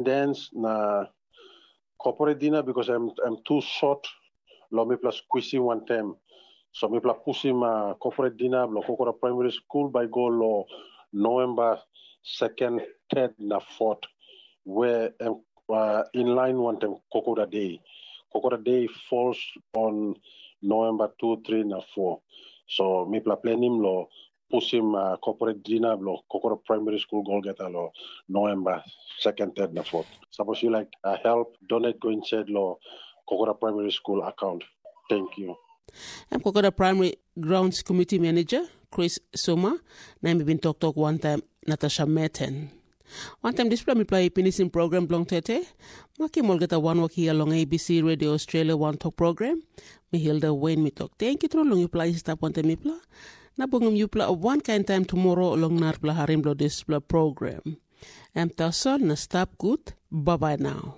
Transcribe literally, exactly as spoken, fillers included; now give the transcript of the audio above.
dance na corporate dinner because I'm I'm too short lo mipela squeezing one time. So mipela pushim uh, corporate dinner lo Kokora Primary School by go lo November second, third na fourth, where um, uh, in line one time Kokora Day. Kokora Day falls on November two, three na four. So mipela planim lo pushim uh, corporate dinner lo Kokora Primary School Golgeta lo November second, third na fourth. Suppose you like uh, help, donate go inside lo Kokora Primary School account. Thank you. Em Kokora Primary Grounds Committee Manager Chris Suma, na em i bin toktok wantaim Natasha Meten. Wantaim dispela mipela i pinisim program bilong tete, makim olgeta wanwok hia long A B C Radio Australia wantok program. Mi Hilda Wayne mi tok thank you tru long yupela i stap wantaim mipela, na bungim yupela wankain taim tomorrow long narapela harim bilong dispela program. Em tasol na stap gut, bye bye now.